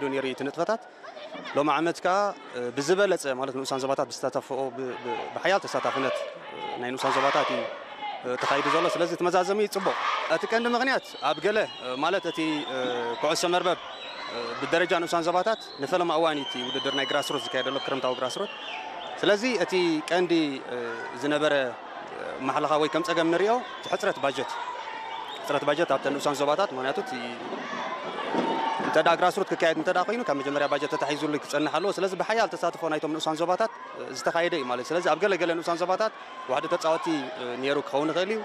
ዶ ነይሩ እቲ ንጥፈታት። ሎሚ ዓመት ከኣ ብዝበለጸ ማለት ንኡሳን ዞባታት ብዝተሳተፍኦ ብ- ብ- ብሓያል ተሳታፍነት ናይ ንኡሳን ዞባታት እዩ ተኻይዱ ዘሎ። ስለዚ እቲ መዛዘሚ ጽቡቕ። እቲ ቀንዲ ምኽንያት ኣብ ገለ ማለት እቲ ኩዕሶ መርበብ ብደረጃ ንኡሳን ዞባታት ንፈለማ እዋን እቲ ውድድር ናይ ግራስሩት ዝካየደሉ ክረምታዊ ግራስሩት። ስለዚ እቲ ቀንዲ ዝነበረ ማሕለኻ ወይ ከም ጸገም ንሪኦ እቲ ሕጽረት ባጀት ሕጽረት ባጀት ኣብተን ንኡሳን ዞባታት። ምኽንያቱ እቲ እንተ ደኣ ግራስሩት ክካየድ እንተ ደኣ ኮይኑ ካብ መጀመርያ ባጀት ተታሒዙሉ ክጸንሕ ኣለዎ። ስለዚ ብሓያል ተሳትፎ ናይቶም ንኡሳን ዞባታት ዝተኻየደ እዩ ማለት። ስለዚ ኣብ ገለ ገለ ንኡሳን ዞባታት ዋሕዲ ተጻወቲ ነይሩ ክኸውን ይኽእል እዩ።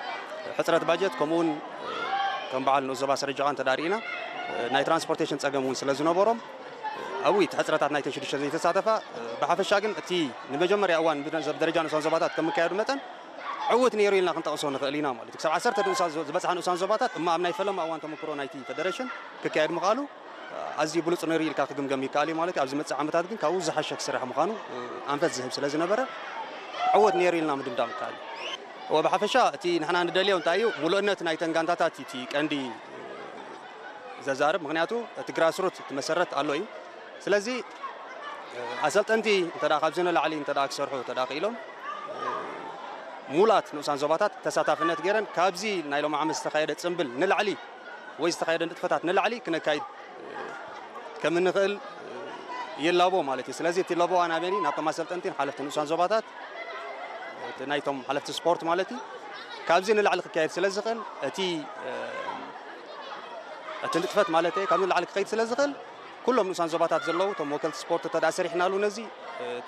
ሕጽረት ባጀት ከምኡ እውን ከም በዓል ንኡስ ዞባ ሰረጀቓ እንተ ደኣ ርኢና ናይ ትራንስፖርቴሽን ጸገም እውን ስለ ዝነበሮም ኣብኡ እቲ ሕጽረታት ናይተን ሽዱሽተ ዘይተሳተፋ። ብሓፈሻ ግን እቲ ንመጀመርያ እዋን ብደረጃ ንኡሳን ዞባታት ከም ምካየዱ መጠን ዕውት ነይሩ ኢልና ክንጠቕሶ ንኽእል ኢና ማለት እዩ። ክሳብ ዓሰርተ ንኡሳ ዝበጽሓ ንኡሳን ዞባታት እሞ ኣብ ናይ ፈለማ እዋን ተመክሮ ናይቲ ፌደሬሽን ክካየድ ምኽኣሉ ኣዝዩ ብሉጽ ነይሩ ኢልካ ክግምገም ይከኣል እዩ ማለት እዩ። ኣብ ዝመጽእ ዓመታት ግን ካብኡ ዝሓሸ ክስራሕ ምዃኑ ኣንፈት ዝህብ ስለ ዝነበረ ዕውት ነይሩ ኢልና ምድምዳም ይከኣል እዩ። እወ ብሓፈሻ እቲ ንሕና ንደልዮ እንታይ እዩ ምሉእነት ናይተን ጋንታታት እቲ ቀንዲ ዘዛርብ። ምኽንያቱ እቲ ግራስሩት እቲ መሰረት ኣሎ እዩ። ስለዚ ኣሰልጠንቲ እንተ ደኣ ካብዚ ንላዕሊ እንተ ደኣ ክሰርሑ እንተ ደኣ ክኢሎም ሙላት ንኡሳን ዞባታት ተሳታፍነት ገይረን ካብዚ ናይ ሎም ዓመት ዝተኻየደ ጽምብል ንላዕሊ ወይ ዝተኻየደ ንጥፈታት ንላዕሊ ክነካይድ ከም እንኽእል ይላቦ ማለት እዩ። ስለዚ እቲ ለቦዋ ናበኒ ናብቶም ኣሰልጠንቲን ሓለፍቲ ንኡሳን ዞባታት እቲ ናይቶም ሓለፍቲ ስፖርት ማለት እዩ ካብዚ ንላዕሊ ክካየድ ስለ ዝኽእል እቲ እቲ ንጥፈት ማለት እዩ ካብዚ ንላዕሊ ክኸይድ ስለ ዝኽእል ኩሎም ንኡሳን ዞባታት ዘለዉ እቶም ወከልቲ ስፖርት እንተ ደኣ ሰሪሕናሉ ነዚ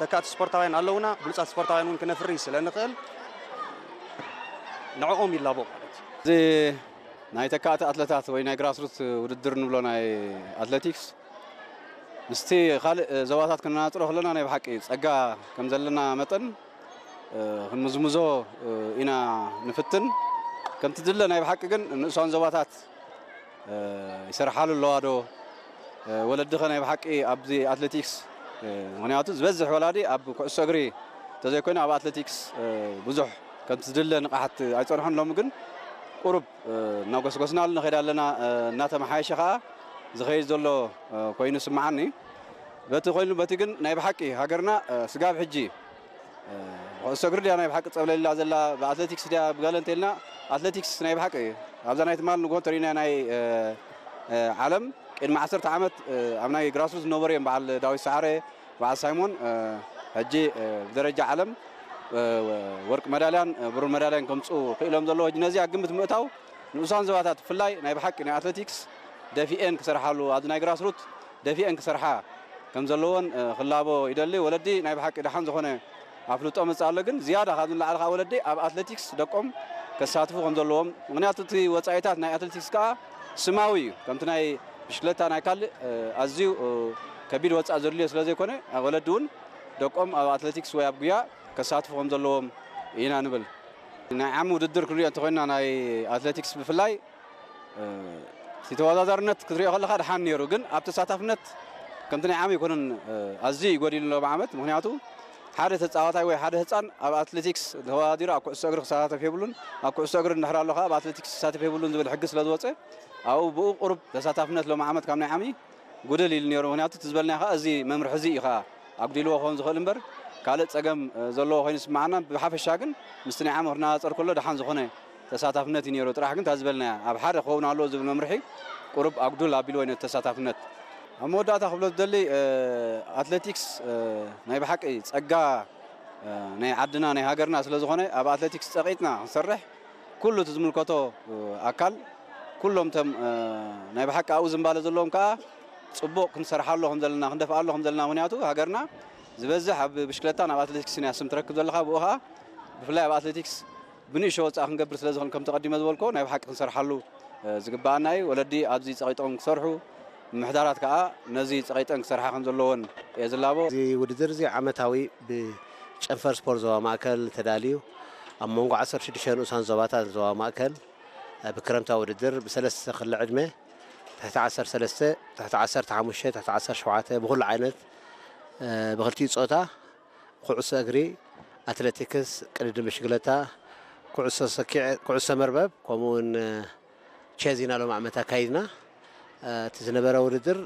ተካእቲ ስፖርታውያን ኣለውና ብሉጻት ስፖርታውያን እውን ክነፍሪ ስለ ንኽእል ንዕኦም ይላቦ ማለት እዩ። እዚ ናይ ተካእቲ ኣትለታት ወይ ናይ ግራስሩት ውድድር ንብሎ ናይ ኣትሌቲክስ ምስቲ ካልእ ዞባታት ክነናጽሮ ከለና ናይ ብሓቂ ጸጋ ከም ዘለና መጠን ክንምዝምዞ ኢና ንፍትን። ከምቲ ድለ ናይ ብሓቂ ግን ንእሷን ዞባታት ይሰርሓሉ ኣለዋ ዶ? ወለድኸ ናይ ብሓቂ ኣብዚ ኣትሌቲክስ ምኽንያቱ ዝበዝሕ ወላዲ ኣብ ኩዕሶ እግሪ እንተዘይኮይኑ ኣብ ኣትሌቲክስ ብዙሕ ከምቲ ዝድለ ንቕሓት ኣይጸንሖን። ሎሚ ግን ቁሩብ እናጎስጎስናሉ ንኸይድ ኣለና። እናተመሓየሸ ኸዓ ዝኸይድ ዘሎ ኮይኑ ይስምዓኒ። በቲ ኮይኑ በቲ ግን ናይ ብሓቂ ሃገርና ስጋብ ሕጂ ኩዕሶ እግሪ ድያ ናይ ብሓቂ ጸብለሊላ ዘላ ብኣትሌቲክስ ድያ ብገለ እንተኢልና ኣትሌቲክስ ናይ ብሓቂ ኣብዛ ናይ ትማል ንግሆ እንተሪእና ናይ ዓለም ቅድሚ ዓሰርተ ዓመት ኣብ ናይ ግራስሩት ዝነበሩ እዮም በዓል ዳዊት ሰዓረ በዓል ሳይሞን ሕጂ ብደረጃ ዓለም ወርቂ መዳልያን ብሩር መዳልያን ከምፅኡ ክኢሎም ዘለዎ ሕጂ ነዚኣ ግምት ምእታው ንኡሳን ዘባታት ብፍላይ ናይ ብሓቂ ናይ ኣትሌቲክስ ደፊኤን ክሰርሓሉ ኣብዚ ናይ ግራስሩት ደፊኤን ክሰርሓ ከም ዘለዎን ክላቦ ይደሊ። ወለዲ ናይ ብሓቂ ደሓን ዝኾነ ኣፍልጦ መፅእ ኣሎ፣ ግን ዝያዳ ካብ ንላዕሊ ከዓ ወለዲ ኣብ ኣትሌቲክስ ደቆም ከሳትፉ ከም ዘለዎም፣ ምክንያቱ እቲ ወፃኢታት ናይ ኣትሌቲክስ ከዓ ስማዊ እዩ። ከምቲ ናይ ብሽክለታ ናይ ካልእ ኣዝዩ ከቢድ ወፃኢ ዘድልዮ ስለ ዘይኮነ ወለዲ እውን ደቆም ኣብ ኣትሌቲክስ ወይ ኣብ ጉያ ከሳትፉ ከም ዘለዎም ኢና ንብል። ናይ ዓሚ ውድድር ክንሪኦ እንተኮይና ናይ ኣትሌቲክስ ብፍላይ እቲ ተወዳዳርነት ክትሪኦ ከለካ ደሓን ነይሩ፣ ግን ኣብ ተሳታፍነት ከምቲ ናይ ዓሚ ኣይኮነን፣ ኣዝዩ እዩ ጎዲሉ ሎም ዓመት። ምክንያቱ ሓደ ተፃዋታይ ወይ ሓደ ህፃን ኣብ ኣትሌቲክስ ተወዳዲሩ ኣብ ኩዕሶ እግሪ ክሳተፍ የብሉን። ኣብ ኩዕሶ እግሪ እንድሕር ኣሎ ከዓ ኣብ ኣትሌቲክስ ክሳተፍ የብሉን ዝብል ሕጊ ስለ ዝወፀ ኣብኡ ብኡ ቁሩብ ተሳታፍነት ሎም ዓመት ካብ ናይ ዓሚ ጉድል ኢሉ ነይሩ። ምክንያቱ እቲ ዝበልናዮ ከዓ እዚ መምርሒ እዚ እዩ ከዓ ኣጉዲልዎ ክኸውን ዝኽእል እምበር ካልእ ፀገም ዘለዎ ኮይኑ ይስምዓና። ብሓፈሻ ግን ምስቲ ናይ ዓሚ ክነፃፀር ከሎ ደሓን ዝኾነ ተሳታፍነት እዩ ነይሩ። ጥራሕ ግን እታ ዝበልናያ ኣብ ሓደ ክኸውን ኣለዎ ዝብል መምርሒ ቁሩብ ኣጉዱል ኣቢልዎ እዩ ነቲ ተሳታፍነት። ኣብ መወዳእታ ክብሎ ዝደሊ ኣትሌቲክስ ናይ ብሓቂ ፀጋ ናይ ዓድና ናይ ሃገርና ስለ ዝኾነ ኣብ ኣትሌቲክስ ፀቒጥና ክንሰርሕ ኩሉ እቲ ዝምልከቶ ኣካል ኩሎም እቶም ናይ ብሓቂ ኣብኡ ዝምባለ ዘለዎም ከዓ ፅቡቕ ክንሰርሓሉ ከም ዘለና ክንደፍኣሉ ከም ዘለና፣ ምክንያቱ ሃገርና ዝበዝሕ ኣብ ብሽክለታን ኣብ ኣትሌቲክስን እያ ስም ትረክብ ዘለካ። ብኡ ከዓ ብፍላይ ኣብ ኣትሌቲክስ ብንእሾ ወፃኢ ክንገብር ስለ ዝኽእል ከም ተቐዲመ ዝበልኮ ናይ ብሓቂ ክንሰርሓሉ ዝግባኣና እዩ። ወለዲ ኣብዚ ፀቒጦም ክሰርሑ ምምሕዳራት ከዓ ነዚ ፀቒጠን ክሰርሓ ከም ዘለዎን እየ ዝላቦ። እዚ ውድድር እዚ ዓመታዊ ብጨንፈር ስፖርት ዞባ ማእከል ተዳልዩ ኣብ መንጎ ዓሰርተ ሽዱሽተ ንኡሳን ዞባታት ዞባ ማእከል ብክረምታዊ ውድድር ብሰለስተ ክሊ ዕድመ ትሕቲ ዓሰርተ ሰለስተ፣ ትሕቲ ዓሰርተ ሓሙሽተ፣ ትሕቲ ዓሰርተ ሸውዓተ ብኩሉ ዓይነት ብክልቲኡ ፆታ ኩዕሶ እግሪ፣ ኣትሌቲክስ፣ ቅድድም ብሽክለታ፣ ኩዕሶ ሰኪዕ፣ ኩዕሶ መርበብ ከምኡ እውን ቼዝ ኢና ሎም ዓመት ኣካይድና። እቲ ዝነበረ ውድድር